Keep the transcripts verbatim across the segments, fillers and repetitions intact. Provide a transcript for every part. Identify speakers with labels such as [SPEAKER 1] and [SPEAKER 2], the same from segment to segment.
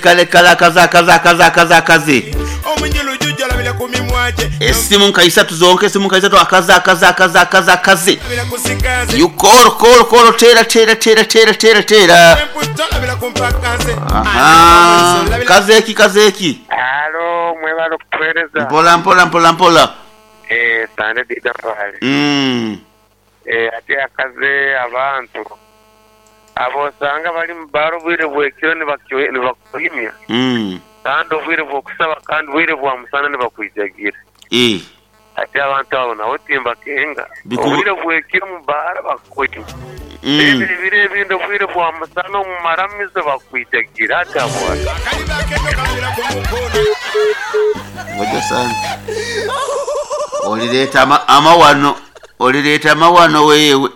[SPEAKER 1] Kale kale akaze akaze akaze akaze akaze esimu nka isatu zonka, esimu nka isatu, akaze akaze akaze akaze akaze. You call, call, call, tera tera tera tera tera tera. Aha, kazeki kazeki.
[SPEAKER 2] Alo, mwebale okutuweereza.
[SPEAKER 1] Mpola mpola mpola mpola.
[SPEAKER 2] Eh, sande dida pale.
[SPEAKER 1] Mm.
[SPEAKER 2] Eh, ate akaze abantu abosanga bali mu baro obwire bwekiro nibakyo- nibakuhimya
[SPEAKER 1] Mm.
[SPEAKER 2] kandi obwire bwokusaba kandi obwire bwa musana nibakwijagira.
[SPEAKER 1] Eh.
[SPEAKER 2] Ate abantu abo nabo timbakenga.
[SPEAKER 1] Biku-
[SPEAKER 2] Obwire bwekiro mu bara bakuhimya.
[SPEAKER 1] Mm.
[SPEAKER 2] Ebyo ebiro ebindi obwire bwa musana omu maramizo bakwijagira ate abo.
[SPEAKER 1] Ngoja sana. Olireeta ama, amawano, olireeta amawano wewe.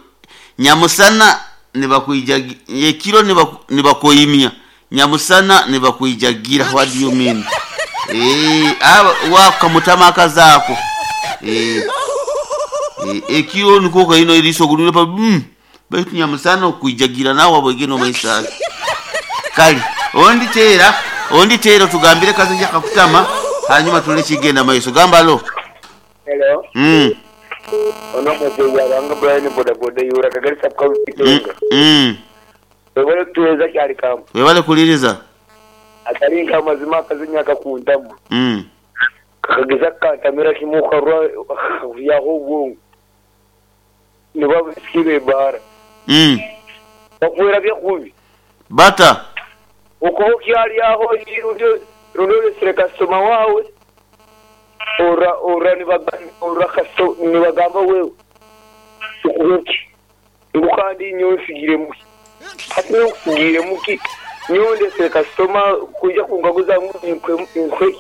[SPEAKER 1] Nyamusana nibakwijagira, ekiro nibaku- nibakuhimya. Nyamusana nibakwijagira. What do you mean? Eh, aba wakamutama akazaako. Eh. Eh, ekiro niko kaino eriso gulule pa mm. Baitu nyamusana okwijagira nawe abwegeno maisha. Kale, ondi tera, ondi tera tugambire kazi yakakutama hanyuma tule kigenda maiso gamba lo.
[SPEAKER 3] Hello.
[SPEAKER 1] Mm.
[SPEAKER 3] Ono muzeeyi abanga Brian bodaboda yura Kagari sub county
[SPEAKER 1] Mm.
[SPEAKER 3] Kirenga.
[SPEAKER 1] Mm.
[SPEAKER 3] Webale kutuweza kyali kamu.
[SPEAKER 1] Webale kuliriza.
[SPEAKER 3] Atali nka amazima akazinya akakuntamu.
[SPEAKER 1] Mm.
[SPEAKER 3] Kakageza kakantamira kimu karwa yaho obwongo. Nibabisikire ebara.
[SPEAKER 1] Mm.
[SPEAKER 3] Bakuwera byakubi.
[SPEAKER 1] Bata.
[SPEAKER 3] Okuba okyali aho rundi olesere kasitoma waawe. Ora ora nibaga- ora kasto nibagamba wewe. Tukuhoki. Ngu kandi nyowe nsigire muki. Hati nyowe nkusigire muki. Nyowe ndesere kasitoma kuija kungaguza ngu nkwe nkwe.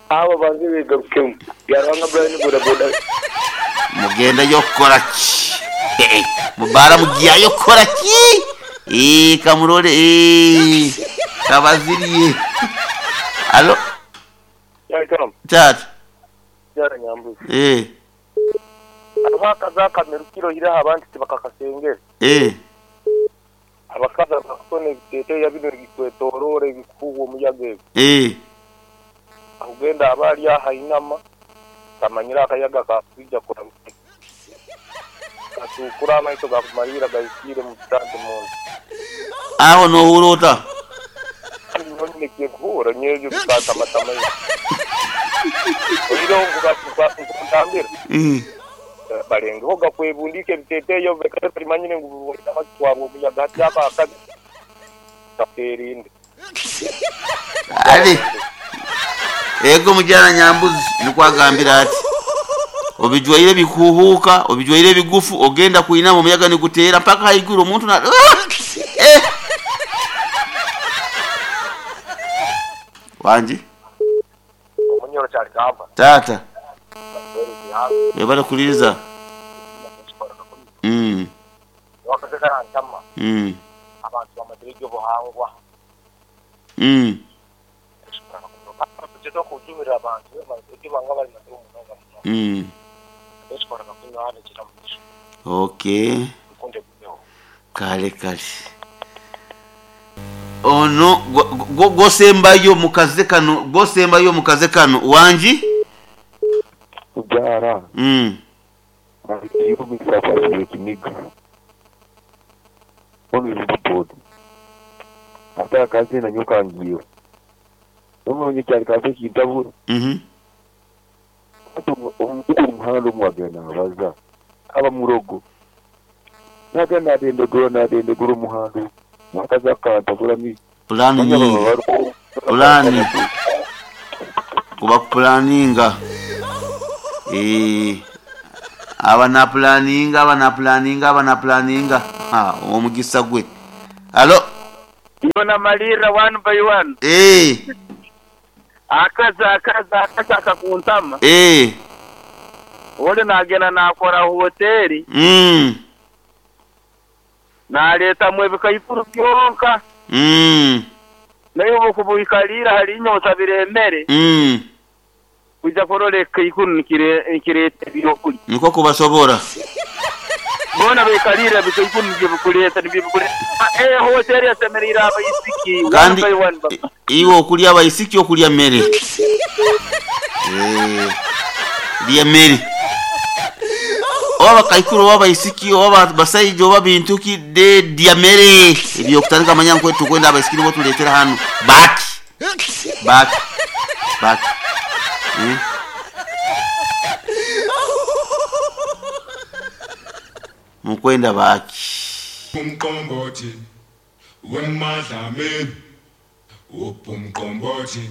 [SPEAKER 3] Abo banze begarukemu. Byarwanga Brian bodaboda.
[SPEAKER 1] Mugenda yokukola ki? Eh, mubara mugiyayo kukola ki? Eh, kamurole eh. Kabaziriye. Alo, tata.
[SPEAKER 4] Byara nyambuzi.
[SPEAKER 1] Eh,
[SPEAKER 4] Abakazi akamera kirohire abantu tibakakasengera.
[SPEAKER 1] eh.
[SPEAKER 4] Abakazi abakutona ebiteeteeya bino ebikwetooroora ebikuhuha omuyaga ebyo.
[SPEAKER 1] Eh.
[SPEAKER 4] Akugenda aba ali aha inama kamanyire akayaga kakwija kuramuka. Katuukura amaiso gakumalira gahikiire mu kitanda munda.
[SPEAKER 1] Aho nohurota.
[SPEAKER 4] Kandi nyonyine kyekuhuura nyebyo bikatamatama. Oireho nkutambira.
[SPEAKER 1] Mm.
[SPEAKER 4] Balengeho gakwebundika ebiteeteeyo bekare balimanyire ngu batwarwa omuyaga hati aba akazi kakerinde.
[SPEAKER 1] Ali. Ego mujana nyambuzi nikwagambira ati obijwaire bikuhuka, obijwaire bigufu, ogenda kuinama omuyaga niguteera mpaka haiguru omuntu na ah! Eh! Wanji
[SPEAKER 4] Omunyoro kyali kamba.
[SPEAKER 1] tata webale kuliriza. Mm.
[SPEAKER 4] Wakazekarantama
[SPEAKER 1] Mm.
[SPEAKER 4] abantu bamazire ebyobuhangwa.
[SPEAKER 1] Mm.
[SPEAKER 4] Tugeza kujumira abantu ebyo banga bali mazire omunonga muno.
[SPEAKER 1] Mm.
[SPEAKER 4] Ekikoraga kunywa hano kira mugisha.
[SPEAKER 1] Okay.
[SPEAKER 4] Nkunde gumeho.
[SPEAKER 1] Kale kale. Ono go- go- gosembayo mukaze kano, gosembayo mukaze kano wanji.
[SPEAKER 5] Kubyara
[SPEAKER 1] Mm.
[SPEAKER 5] yumisa ekiniga ono ate akaze nanyo kangiyo nomonye kyali kaze kintabura.
[SPEAKER 1] Mhm.
[SPEAKER 5] Omuntu omuhanda omwagenda abaza aba murogo nagenda adendegura nadendegura omuhanda mwakazi akantabura mi
[SPEAKER 1] Plani nyingi. Plani. Kuba kupulaninga. Eh. Aba na planinga, aba na planinga, aba na planinga. Ha, omugisa gwe. Alo.
[SPEAKER 2] Yona malira one by one.
[SPEAKER 1] Eh.
[SPEAKER 2] Akazi akazi akazi akakuntama.
[SPEAKER 1] Eh.
[SPEAKER 2] Ole nagenda nakora hoteli
[SPEAKER 1] Mm.
[SPEAKER 2] naletamu ebikaikuru byonka.
[SPEAKER 1] Mm.
[SPEAKER 2] Naye obukubuikalira hali inyota biremere.
[SPEAKER 1] Mm.
[SPEAKER 2] Kuja kurora ekaikuru nikire nikireta ebyokulya.
[SPEAKER 1] Niko kubasobora.
[SPEAKER 3] Bona bekalira bikaikuru nibyo bikuleta nibyo bikuleta. Eh hoteli yasemerera abaisiki one
[SPEAKER 1] Kandi
[SPEAKER 3] by one baba.
[SPEAKER 1] iwe okulya abaisiki okulya mere. Eh, lya mere. Oba bakaikuru oba abaisiki oba basaija oba bintu ki de lya mere. Ebyokutandika manya nkwe tukwenda abaisiki nibo tuletera hano. Baki. Baki. Baki. Eh? Mukwenda baki.
[SPEAKER 6] Umqombothi wemadlamini, upumqombothi.